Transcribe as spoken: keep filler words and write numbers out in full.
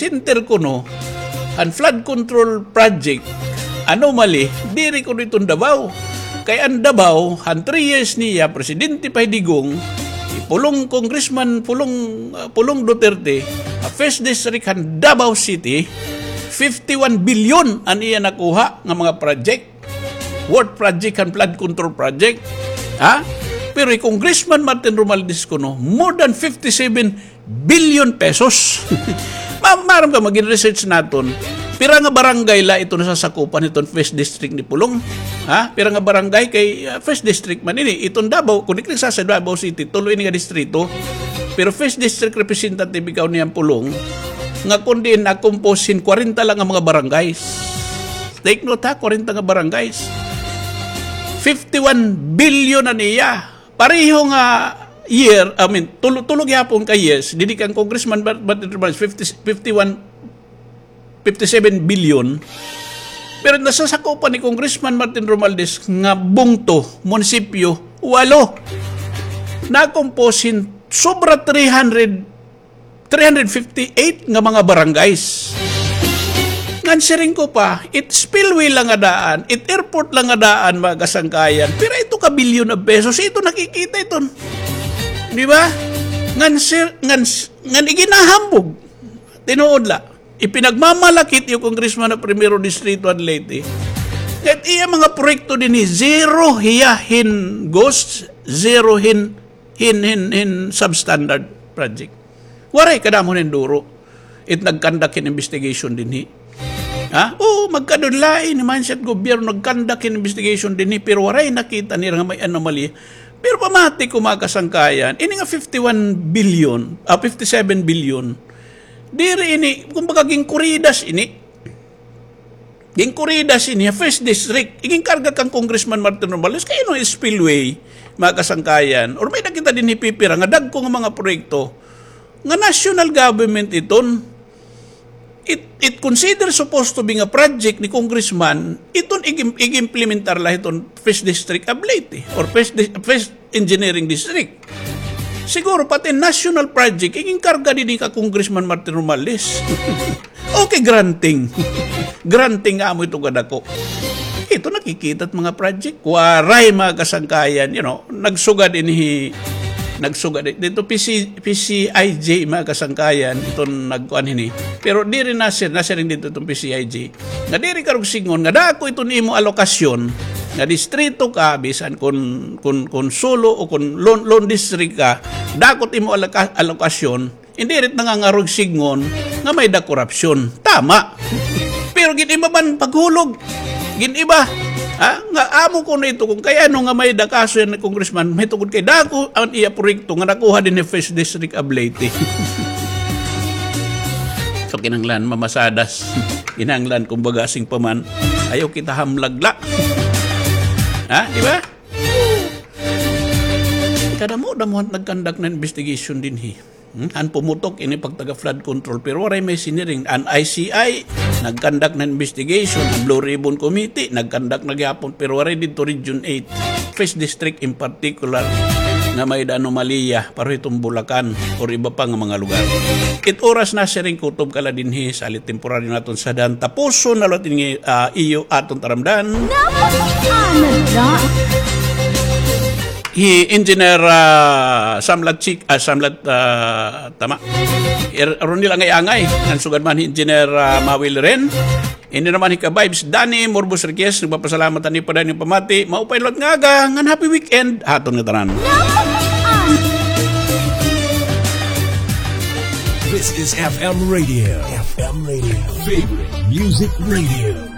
center kuno han flood control project anomaly, diri kuno iton Davao. Kay an Davao, han three years niya, Presidente pa hi Digong, hi Pulong, Congressman Pulong, ah, Pulong Duterte, ha First District han Davao City, fifty-one billion an iya nakuha nga mga project. Worth project han flood control project. Ha? Pero hi Congressman Martin Romualdez kuno, more than fifty-seven billion pesos. Ma-, maaram ka, mag-research naton. Pira nga barangay la iton nasasakupan hiton First District ni Pulong? Ha? Pira nga barangay kay, ah, First District man ini. Iton Davao, kon diri sa, sa Davao City, tulo ini nga distrito. Pero First District representative ikaw niyan, Pulong, nga kon diin na-compose hin kwarenta la nga mga barangays. Take note ha, kwarenta nga barangays. Fifty-one billion an iya. Pareho nga year, I mean, tulo, tulo gihapon ka years, didi kan Congressman Bat-, Bat-, Bat-, fifty, fifty-one, fifty-seven billion. Pero nasasakupan ni Congressman Martin Romualdez nga bungto, munisipyo, walo. Na-compose hin sobra three hundred, three hundred fifty-eight nga mga barangays. Ngan siring ko pa, it spillway la nga daan, it airport la nga daan, mga kasangkayan. Pira ito ka bilyon of pesos, ito nakikita iton. Di ba? Ngan sir, ngan, ngan iginahambog. Tinuod la. Ipinagmamalakit iyo Congressman ha Primero Distrito han Leyte. Ngan iya mga proyekto dinhi, zero hiya hin ghost, zero hin, hin, hin, hin substandard project. Waray kadamo hin duro. It nag-conduct hin investigation dinhi. Ha? Oo, magkadulain, mindset gobyerno, nag-conduct hin investigation dinhi, pero waray nakita nira nga may anomaly. Pero pamati ko, mga kasangkayan, ini nga fifty-one billion, ah, fifty-seven billion, diri ini, kumbaga, ginkuridas ini. Ginkuridas ini, First District. Iginkarga kan Congressman Martin Romualdez, kay ano spillway, mga kasangkayan? Or may nakita dinhi pipira nga dagko nga mga proyekto nga national government iton. It, it considered supposed to be nga project ni Congressman, iton ig-, ig-implementar la hiton First District of Leyte, or First Dis-, First Engineering District. Siguro pati national project, iginkarga dinhi ka Congressman Martin Romualdez. Okay, granting. Granting nga amo ito kadako. Ito nakikita it mga project. Waray, mga kasangkayan, you know, nagsugad ini, nagsugad i-, dito P C, P C I J, mga kasangkayan, iton nagkuan hini. Pero diri na sir, nasiring dito itong P C I J. Nga diri karog sidngon nga dako iton imo alokasyon nga distrito ka, bisan kun, kun, kun solo o kun lone, lone district ka, dako it imo aloka-, alokasyon, diri it nangangarog sidngon nga may-ada korupsyon. Tama. Pero gin-iba man paghulog. Gin-iba. Ha? Nga amo kuno ito kun kay ano nga may-ada kaso yana nga congressman, mahitungod kay dako an iya proyekto nga nakuha dinhi First District of Leyte. So, kinahanglan mamasadas. Kinahanglan, kumbaga, asing pa man, ayaw kita hamlag la. Ha? Di ba? Kadamo-damo an nag-conduct na investigation dinhi. Hmm? Han pumutok ini pagtaga flood control, pero waray may siniring. An I C I, nag-conduct na investigation. An Blue Ribbon Committee, nag-conduct na gihapon, pero waray didto Region eight, First District in particular, nga may-ada anomalya, pareho hiton Bulacan, or iba pa nga mga lugar. It oras na, siring kutob ka la dinhi, salit temporaryo naton sadhan, tapuson na la ini, ah, iyo aton taramdan. Hi Engineer, ah, Samlat Chick, ah, Samlat, ah, tama. Er, Ronil Angay-Angay, ngan sugad man hi Engineer, ah, Mawil Ren. Ini naman hi ka-vibes, Danny Morbos Riquez, nagpapasalamat ani pa dayon pamati. Maupay liwat nga aga, ngan happy weekend, ha aton ngatanan. This is F M Radio. F M Radio. Favorite Music Radio.